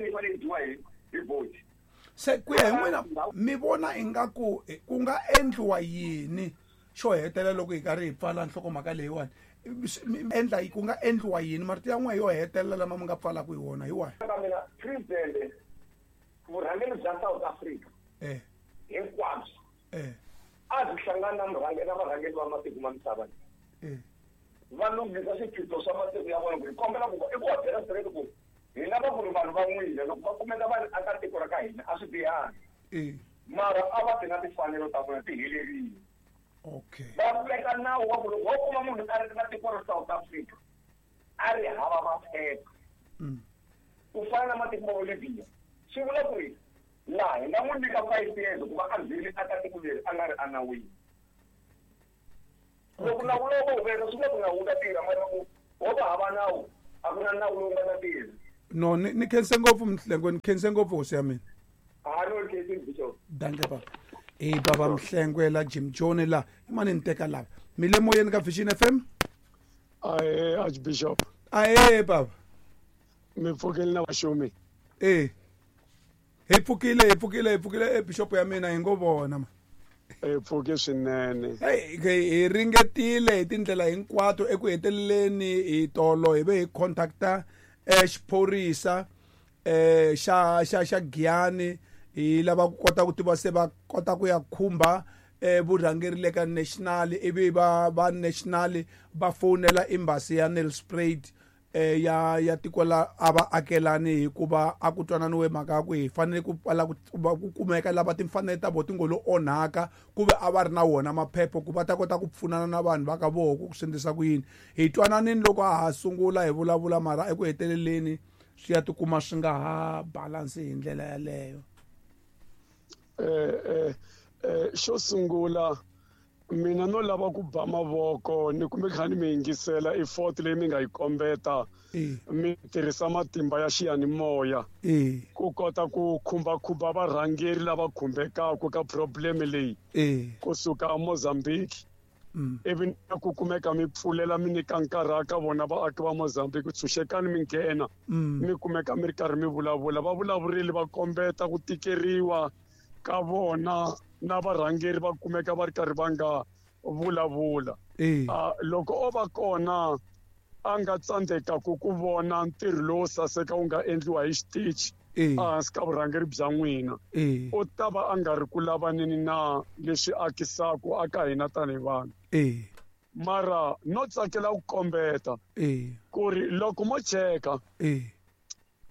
Yi fanele yi dyiwa hi boti. Se ku ya hi n'wina, mi vona ingaku ku nga endliwa yini xo hetelela loko hi karhi hi pfala nhlokomhaka leyiwani? Endla ku nga endliwa yini? Marito ya n'we yo hetelela lama mi nga pfalaka hi wona hi wahi? Ka mina, president, vurhangeri bya South Africa hinkwabyo a byi hlangani na murhangeri na varhangeri va matiko ma misava va lunghisa swiphiqo swa matiko ya vona, ku hi kombela ku i ku va byela straight ku hi lava ku ri vanhu va n'wina loko va kumeka va ri aka tiko ra ka hina, a swi bihangi, mara a va ti na timfanelo ta vona ti helerile. Va veka nawu wa ku loko wo kuma munhu a ri na tiko ra South Africa a ri hava maphepha, ku fana na matiko ma Bolivia, swi vula ku ri laha hi nga n'wi nyika 5 years ku va a ngheni aka tiko leri a nga ri enawini. Loko nawu lowu va wu veka, swi vula ku nawu wu ta tirha, mara loko wo va hava nawu, a ku na nawu lowu nga ta tirha. No, ni khense ngopfu, Mhlengwe, ni khense ngopfu, hosi ya mina. Ha no khensi, bishop. Danke, baba. I baba Mhlengwe la Jim John la imani ni teka lava mi le moyeni ka Vision FM. Ahe, Archbishop. Ahe, baba. Mi pfukile na vaxumi? E, hi pfukile, hi pfukile, hi pfukile, e bishop ya mina, hi ngo vona ma. Hi pfuke swinene. Hey, hi ringetile hi tindlela hinkwato. Eku heteleleni hi tolo hi ve hi contacta xiphorisa xa Giyani, hi lava ku kota ku tiva se va kota ku ya khumba vurhangeri le ka national, ivi va national va fonela embassy ya Nelspruit ya tiko la a va akelani, hikuva a ku twananiwe mhaka ya ku hi fanele ku pfala ku kumeka lava timfanelo ta vona ti ngo lo onhaka, ku ve a va ri na wona maphepha ku va ta kota ku pfunana na vanhu va ka voho ku swi endlisa ku yini. Hi twananini loko a ha sungula hi vulavula, mara eku heteleleni swi ya tikuma swi nga ha balance hi ndlela yaleyo. Xo sungula, mina no lava ku ba mavoko ni kumbe kha ni mi yingisela effort leyi mi nga yi kombeta, mi tirhisa matimba ya xiyanimoya ku kota ku khumbakhumba varhangeri lava khumbekaka ka problem leyi kusuka Mozambique, ivi na ku kumeka mi pfulela, mi nyika nkarhi ka vona vaaki va Mozambique, tshunxekani mi nghena, mi kumeka mi ri karhi mi vulavula. Va vulavurile, va kombeta ku tikeriwa ka vona, na varhangeri va kumeka va ri karhi va nga vulavula. Loko o va kona a nga tsandzekaku ku vona ntirho lowo saseka wu nga endliwa hi xitichi ehansi ka vurhangeri bya n'wina, u ta va a nga ri ku lavaneni na leswi akisaku aka hina tanihi vanhu. Mara no tsakela ku kombeta ku ri loko mo cheka,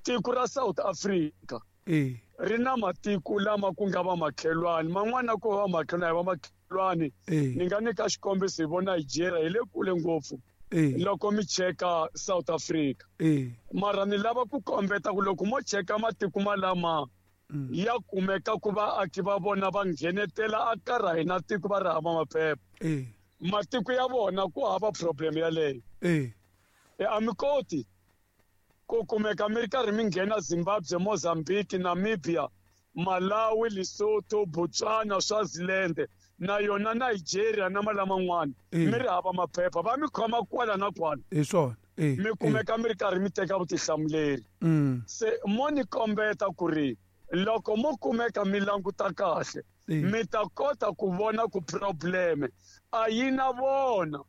tiko ra South Africa ri na matiko lama ku nga va makhelwani, man'wana ku va makhelwani, hi va makhelwani. Ni nga nyika xikombiso hi vo Nigeria, hi le kule ngopfu loko mi cheka South Africa. Mara ni lava ku kombeta ku loko mo cheka matiko malama ya kumeka ku vaaki va vona va nghenetela aka ra hina tiko va ri hava maphepha, matiko ya vona ku hava problem yaleyo. A mi koti ku kumeka mi ri karhi mi nghena Zimbabwe, Mozambique, Namibia, Malawi, Lesotho, Botswana, Swaziland na yona Nigeria na malaman'wana mi ri hava maphepha, va mi khoma kwala na kwala. Hi swona. Mi kumeka mi ri karhi mi teka vutihlamuleri. Se mo ni kombeta ku ri loko mo kumeka mi languta kahle, mi ta kota ku vona ku probleme a yi na vona.